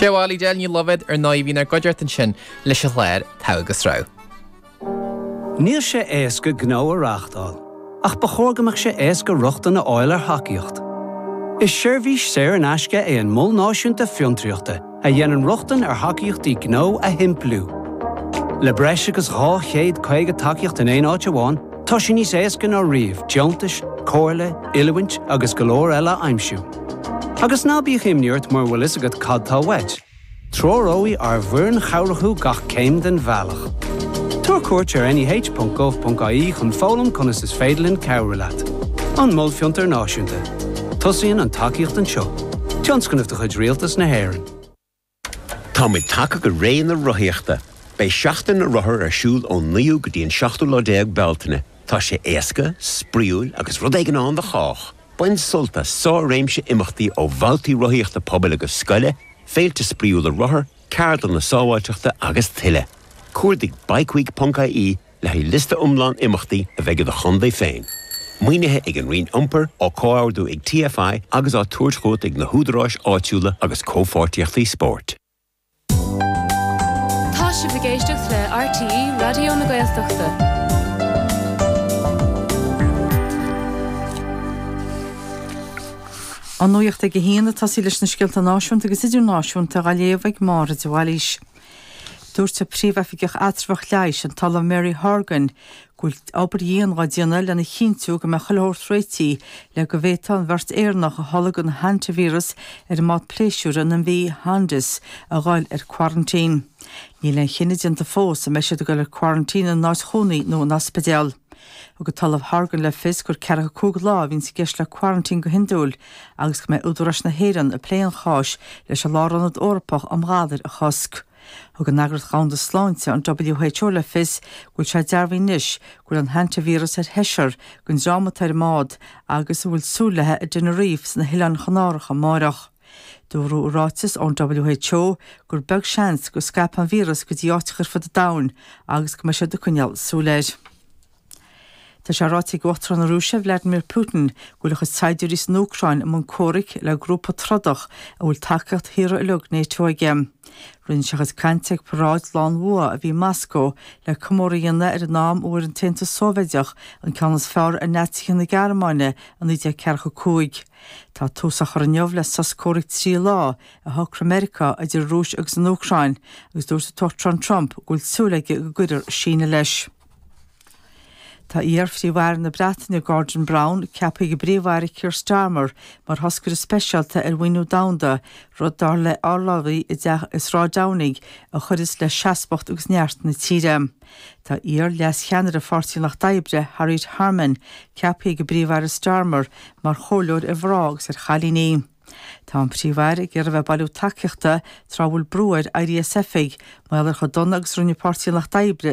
Sé Wally Del ní Loibhéad ar ndóigh a bhí inár gcuideachta ansin leis an chlár Togha agus Rogha. Níl sé éasca gnó a reáchtáil, ach ba chóir go mbeadh sé éasca rochtain a fháil ar thacaíocht. Is seirbhís saor in aisce é an Mol Náisiúnta Fiontraíochta a dhéanann rochtain ar thacaíochtaí gnó a shimpliú. Le breis agus 250 tacaíocht in aon áit amháin, tá sé níos éasca ná riamh deontais, comhairle, oiliúint agus go leor eile a aimsiú. Agus ná bíodh imní ort mura bhfuil fhios agat cad tá uait. Treoróidh ár bhfoireann chabhrach thú gach céim den bhealach. Tabhair cuairt ar neh.gov.ie chun foghlaim conas is féidir linn cabhrú leat. An Mol Fiontair Náisiúnta. Tosaíonn an tacaíocht anseo. Tionscnamh de chuid Rialtas na hÉireann. Táimid tagtha go ré na rothaíochta! Beidh Seachtain na Rothar ar siúl ón 9ú go dtí an 17ú lá Bealtaine. Tá sé éasca, spraíúil agus rud éigin ann do chách! Bain sult as sár-réimse imeachtaí ó bhabhtaí rothaíochta pobail agus scoile, féilte spraíúla rothar, ceardlanna sábháilteachta agus tuilleadh. Cuardaigh bikeweek.ie le haghaidh liosta iomlán imeachtaí a bheidh i do chontae féin. Maoinithe ag an Roinn Iompair, á comhordú ag TFI agus á tabhairt chugat ag na húdaráis áitiúla agus comhpháirtíochtaí spóirt. Tá sibh ag éisteacht le RTÉ Raidió na Gaeltachta. An nuacht ag a haon ag tosaí leis na scéalta náisiúnta agus idirnáisiúnta á léamh ag Máire de Bhailís. Dúirt an Príomhoifigeach Eatramhach Leighis, an tOllamh Mary Horgan, go bhfuil obair dhian á déanamh lena chinntiú go mbeidh chuile shórt réitithe le go bhféadfadh an bheirt Éireannach a tholg an hantavíreas ar an mbád pléisiúir an MV Hondius a dhul ar quarantine. Níl aon chinneadh déanta fós an mbeidh siad ag dul ar quarantine ina n-áit chónaí nó in ospidéal. Thug an tOllamh Horgan le fios gur 45 lá a bhíonns i gceist le quarantine go hiondúil agus go mbeidh údaráis na hÉireann ag plé an cháis leis an Lárionad Eorpach um Ghalair a Chosc. Thug an Eagraíocht Dhomhanda Sláinte, an WHO, le fios go bhfuil sé dearbhaithe anois go bhfuil an hantavíreas ar sheisear den dream atá ar an mbád agus a bhfuil súil léi i dTenerife sna hOileáin Chanáracha amáireach. Dúradh i ráiteas ón WHO gur beag seans go scaipfidh an víreas go dtí áiteacha ar fud an domhain agus go mbeidh siad ag coinneáil súil air. Tá sé ráite ag Uachtarán na Rúise, Vladimir Putin, go bhfuil a chuid saighdiúirí san Úcráin i mbun comhraic le grúpa trodach a bhfuil tacaíocht thíortha uilig NATO aige. Rinne sé a chuid cainte ag paráid Lá an Bhua a bhí i Moscó le comóradh a dhéanamh ar an am a bhfuair an tAontas Sóivéideach an ceann is fearr ar Naitsithe na Gearmáine i 1945. Tá tús á chur inniu le sos comhraic 3 lá a shocraigh Meiriceá idir an Rúis agus an Úcráin agus dúirt an tUachtarán Trump go bhfuil súil aige go gcuirfear síneadh leis. Tá iar-Phríomh-Aire na Breataine Gordon Brown ceaptha ag an bPríomh-Aire Keir Starmer mar thoscaire speisialta ar mhaoiniú domhanda, rud dar le urlabhraí i dteach i Sráid Downing a chuirfeas le seasmhacht agus neart na tíre. Tá iar-leas-cheannaire Pháirtí an Lucht Oibre, Harriet Harman, ceaptha ag an bPríomh-Aire Starmer mar chomhairleoir ar mhná agus ar chailíní. Tá an Príomh-Aire ag iarraidh a bheith ag bailiú tacaíochta tráth a bhfuil brú air éirí as oifig mar gheall ar chomh dona agus a rinne Páirtí an Lucht Oibre.